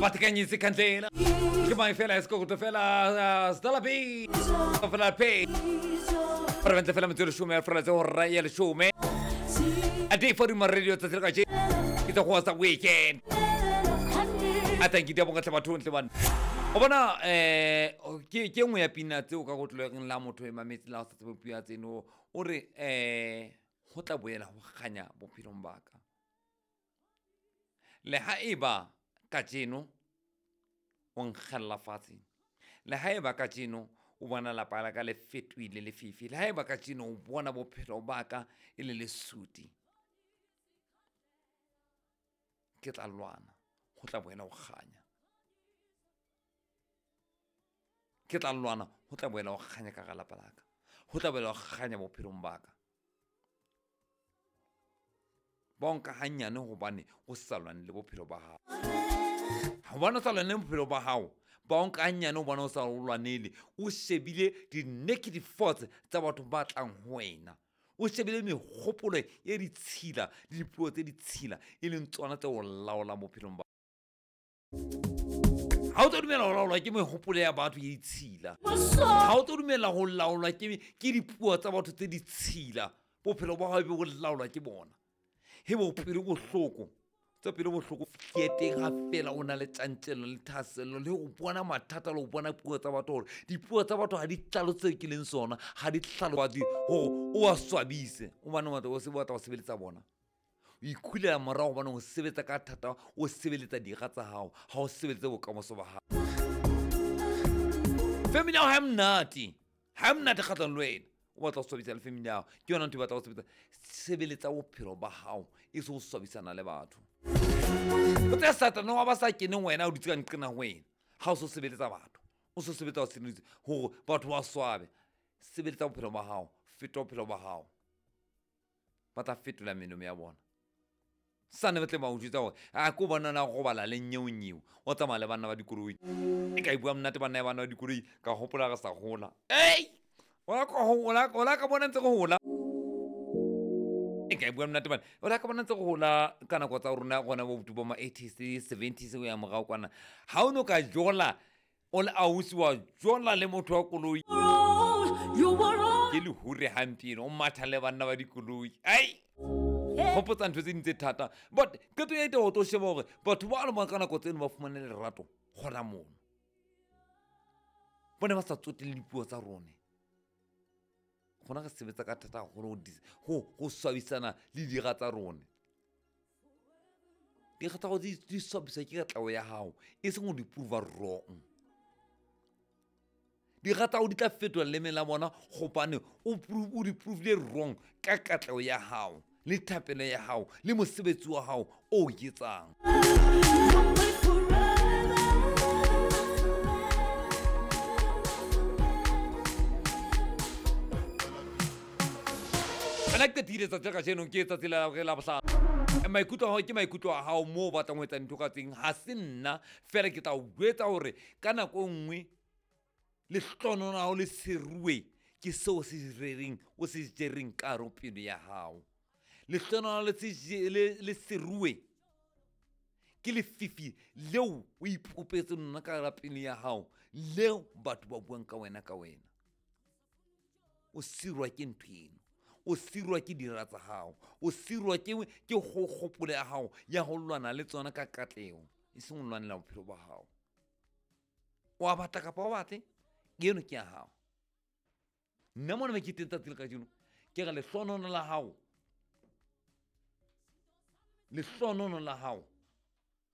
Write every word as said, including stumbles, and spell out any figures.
Batikanyise khandlela ke mang fela esikokuto fela Stella B fela P Prevente fela metsotso leshome ya fela tse hora ya leshome a day for di radio tsatsi la kajeno ke tsa go sa weekend a thank you bonga tle batho ntle bana o bona eh ke ke nngwe ya pina tseo ka go tloeng la motho e mametse la sa tsebe puo ya tseno o re eh ho tla boela ho kganya bophelong ba ka le ha eba kajeno o nkgella fatshe le ha eba kajeno o bona lapa la ka le fetohile lefifi le ha eba kajeno o bona bophelo ba ka e le lesuti ke tla lwana ho tla boela ho kganya ke tla lwana ho tla boela ho kganya ka lapa la ka ho tla boela ho kganya bophelong ba ka bonka hanyane hobane o sa lwane le bophelo ba hao hobane o sa lwane le bophelo ba hao bonka hanyane hobane o sa lwanele o shebile di-negative thoughts tsa batho ba tlang ho wena o shebile mehopolo e ditshila le dipuo tse ditshila e leng tsona tse o laolang bophelong ba ha o tlo dumela ho laolwa ke mehopolo ya batho e ditshila ha o tlo dumela ho laolwa ke ke dipuo tsa batho tse ditshila bophelo ba hao be bo laolwa ke bona he bo pelo bohloko tsa pelo bohloko ke teng ha fela o na le tjantjello le thahasello le ho bona mathata le ho bona puo tsa batho hore dipuo tsa batho ha di tlalo tseo ke leng sona ha di tlhalobatse hore o a swabise hobane o batla o se batla ho sebeletsa bona o ikhulela morao hobane o sebetsa ka thata o sebeletsa dira tsa hao ha o sebeletse bokamoso ba hao family ya hao ha e monate ha e monate kgahlano le wena o batla ho swabisa le family ya hao ke yona ntho e batla ho sebetsa sebeletsa bophelo ba hao e se ho swabisana le batho o tse satane wa ba sa keneng wena o dutse ka nqena ho wena ha o so sebeletsa batho o so sebetsa o sebeletse hore batho ba swabe sebeletsa bophelo ba hao feta bophelo ba hao ba tla fetola melomo ya bona sane ba tle ba o jwetsa hore a ko bona na go bala le nyeonyeo o tsamaya le banna ba dikoloi e ka e bua monate banna ya bana ba dikoloi ka hopola re sa gola ei ola ka hola ola ka bona ntse go hola e ka e bua monate bana ola ka bona ntse go hola ka nako tsa rona gona bo botu bo ma eighties seventies o ya morao kwana ha o no ka jola o le ausi wa jola le motho wa koloi ke lehure hampieno o matha le banna ba dikoloi ai gopotsa ntho tse ding tse thata but qeto ya ita ho tlo sheba hore batho ba le ka nako tseno ba fumane lerato gona mono bone ba sa tsotelle dipuo tsa rone gona re sebetsa ka thata haholo ho ho swabisana le dira tsa rone dira tsa go di swabisa ke katlao ya hao e seng ho di prove wrong dira tsa go di tla fetola leme la bona gobane o o di provile wrong ka katlao ya hao le thapelo ya hao le mosebetsi wa hao o etsang nna ke qetile tsatsi la kajeno ke tsatsi la la bohlano maikutlo a hao ke maikutlo a hao moo o batlang ho etsa dintho ka teng ha se nna fela ke tla o jwetsa hore ka nako e nngwe lehlohono la hao le seruwe ke seo se rereng o se jereng ka hare ho pelo ya hao lehlohono le le seruwe ke lefifi leo o ipopetseng lona ka hara pelo ya hao leo batho ba buang ka wena ka wena o sirwa ke ntho eno o sirwa ke dira tsa hao o sirwa ke ke kgopolo ya hao ya ho lwana le tsona ka katleho e seng ho lwanela bophelo ba hao o a batla kapa o batle eno ke ya hao nna mona me ke teng tsatsi le kajeno ke re lehlohono la hao lehlohono la hao